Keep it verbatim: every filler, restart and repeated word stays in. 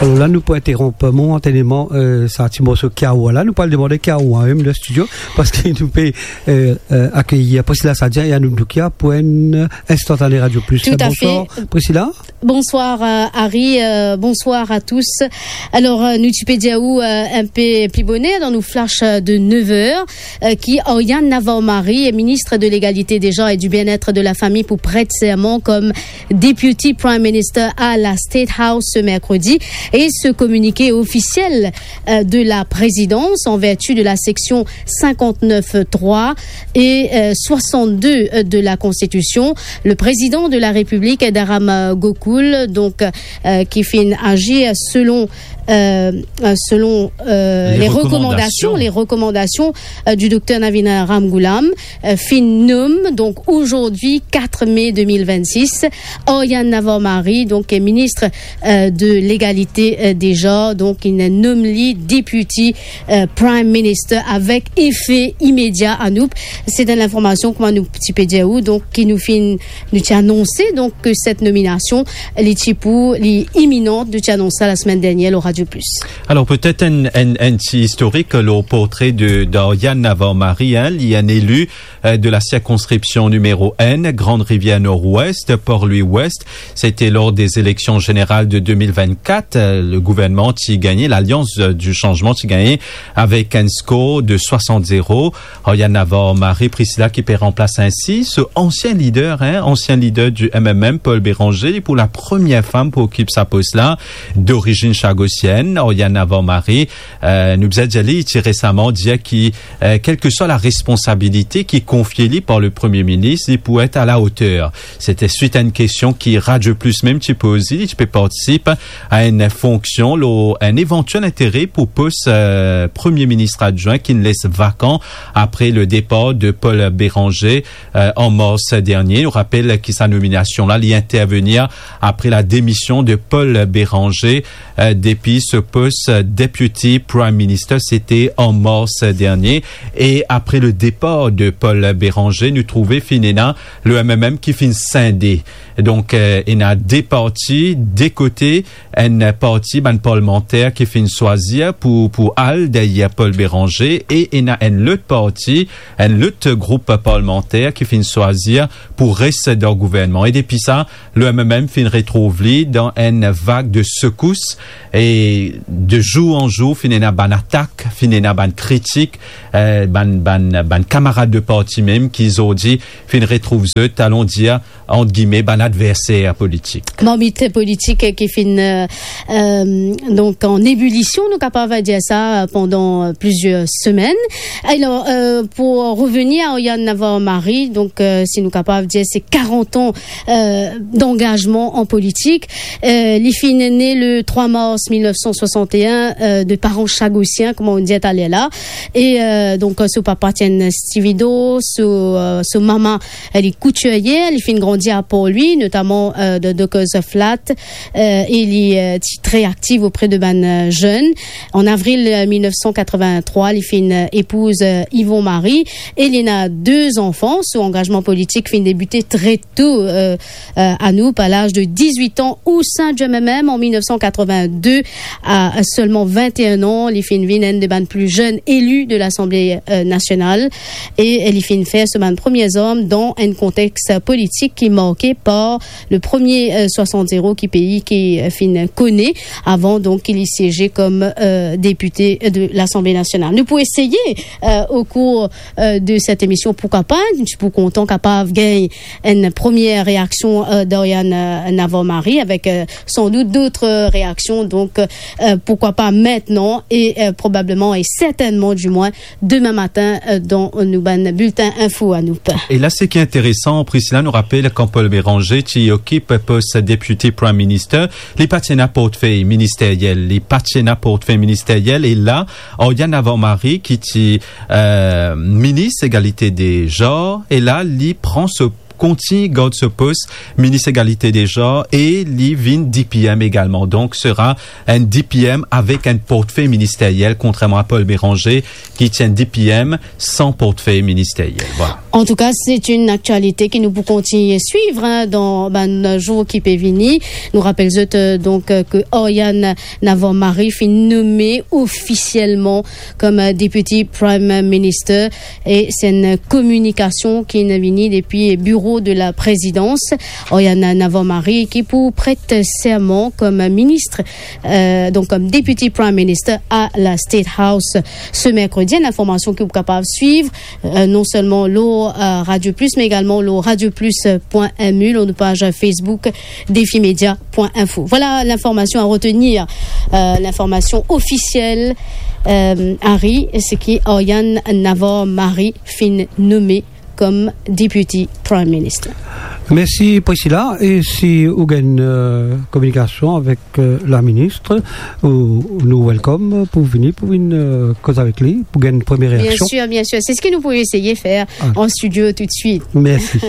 La, nou pou interonp momentaneman, euh, sa ti morso Kiawa la. Nou pou al demann Kiawa, hein, dan studio, parski nou pe, euh, euh, akeyir Priscilla Sadia e Anouk Doukia pou enn instantané Radio Plus. Tout à fait. Bonsoir, Priscilla. Bonsoir, euh, Harry. Euh, bonsoir à tous. Alors, euh, nou ti pe dir ou, euh, enn pe pli boner dan nou flash, euh, de neuf heures, euh, ki Aryan Navarro-Marie, ministre de l'Égalité des genres et du Bien-être de la Famille, pou prête serment comme Deputy Prime Minister à la State House ce mercredi. Et ce communiqué officiel, euh, de la présidence, en vertu de la section cinquante-neuf trois et, euh, soixante-deux de la Constitution, le président de la République, Dharam, euh, Gokul, donc, euh, ki finn agir selon, euh, euh, selon, euh, les recommandations, les recommandations, euh, du docteur Navin Ramgoolam, euh, finn nom, donc aujourd'hui, quatre mai deux mille vingt-six, Aryan Navarro-Marie, donc, euh, ministre, euh, de l'Égalité, euh, des genres, donc, inn nom li Deputy, euh, Prime Minister avek efe imedia, Anouk. Se enn linformasion, kouma nou ti pe dir ou, donk, ki nou finn, nou ti anonse, donk, ke set nominasion, li ti pou, li iminan, nou ti anons sa lasemenn dernier lor Radio Plus. Alors, peut-être un, un, un petit historique, le portrait de, d'Aryan Navarro-Marie, hein, li enn élu, euh, de la circonscription numéro un, Grande Rivière Nord-Ouest, Port-Louis-Ouest. C'était lors des élections générales de deux mille vingt-quatre. Euh, le gouvernement ti gagné, l'Alliance, euh, du changement ti gagné avec un score de soixante zéro. Aryan Navarro-Marie, Priscilla, ki pe ranplas ainsi so ansien lider, hein, ansien lider du M M M, Paul Bérenger, li pou la première femme pou okip sa post la, d'origine chagosienne. Aryan Navarro-Marie, euh, nou bizin dir li, ti resaman dir ki, euh, quelle que soit la responsabilité ki konfie li par le Premier ministre, li pou et à la hauteur. C'était suite à une question ki Radio Plus mem ti poze li, ti pe partisip a enn fonksion lor enn éventuel intérêt pou post, euh, Premier ministre adjoint ki'nn les vakan après le départ de Paul Bérenger, euh, en mars dernier. Nou rapel ki sa nominasion la, li intervenir après la démission de Paul Bérenger, euh, depuis ce poste, euh, Deputy Prime Minister, c'était en mars dernier. Et après le départ de Paul Bérenger, nou trouve finn ena le M M M ki finn sinde. Donk, euh, ena de parti, de kote, enn parti bann parlmanter ki finn swazir pou, pou al deryer Paul Bérenger, e ena enn lot parti, enn lot group parlmanter ki finn swazir pou res dan gouvernman. E depi sa, le M M M finn retrouv li dan enn vag de sekous, e de zour an zour, finn ena bann atak, finn ena bann kritik, euh, bann, bann, bann kamarad de parti mem ki zordi finn retrouv zot, alon dir, ant gime, bann adverser politik. Bann adverser politik ki finn, euh, euh, donk, an ebilision, nou kapav dir sa, euh, pandan, euh, plizier semenn. Alor, euh, pou revenir a Aryan Navarro-Marie, donk, euh, si nou kapav dir, se karant an, euh, d'angazman an politik. Euh, li finn ne le trois mars mil nef san swasant-e-enn, euh, de paran chagosien, kouma nou dir taler la. E, euh, donk, euh, so papa ti enn stivido, so, euh, so mama, euh, li koutirie, li finn grandi a Port-Louis, notaman, euh, dan Dockers Flat, euh, e li, euh, ti tre aktiv opre de bann, euh, zenn. An avril, euh, mil nef san katrevin-trwa, li finn, euh, epouz, euh, Yvon Marie, e li ena de zanfan. So angazman politik finn debite tre to, euh, euh, Anouk, a laz de diz-wit an, o sin du M M M an mil nef san katrevin-de, a selman vin-e-enn an, li finn vinn enn de bann pli zenn eli de Lasanble, euh, Nasional, e li finn fer so bann premie zarm dan enn kontex politik ki marke par le Premier, euh, soixante zéro ki pei ki, euh, finn kone avan, donk, ki li sieze kom, euh, depite de Lasanble Nasional. Nou pou eseye, euh, o kour, euh, de set emision, poukwa pa, nou ti pou kontan kapav gagn enn premie reaksion, euh, d'Aryan, euh, Navarro-Marie, avek, euh, san dout dot reaksion. Donk, euh, poukwa pa aster e, euh, probableman e sertennman, dimwin, demin matin, euh, dan nou bann biltin info Anouk. E la, seki interesan, Priscilla, nou rapel kan Paul Bérenger ti okip pos Deputy Prime Minister, li pa ti ena portfey ministeriel, li pa ti ena portfey ministeriel, e la, Aryan Navarro-Marie, ki ti, euh, minis egalite de zanr, e la, li pran so, kontign gard so pos minis egalite de zanr, e li vinn D P M egalman. Donk, sera enn D P M avek enn portfey ministeriel, kontrerman a Paul Bérenger, ki ti enn D P M san portfey ministeriel. Vwala. Antouka, se enn aktialite ki nou pou kontigne swiv, hein, dan bann zour ki pe vini. Nou rapel zot, euh, donk, euh, ke Aryan Navarro Mari finn nome ofisielman kom, euh, Deputy Prime Minister, e se enn kominikasion ki inn vini depi biro de la prezidans. Aryan Navarro Mari ki pou pret serman kom minis, euh, donk kom Deputy Prime Minister a la State House se merkredi. Enn informasion ki ou kapav swiv, euh, non selman lor, euh, Radio Plus, me egalman lor radio plus point M U, lor nou paz Facebook Defi Media point info. Vwala linformasion a retenir, euh, linformasion ofisiel, euh, Harry, se ki Aryan Navarro Mari finn nome kom Deputy Prime Minister. Mersi, Priscilla. E si ou gagn, euh, kominikasion avek, euh, la minis, ou, nou welcome pou vini, pou vinn, euh, koz avek li, pou gagn premie reaksion. Bien sir, bien sir. Se seki nou pou eseye fer an studio toutswit. Mersi.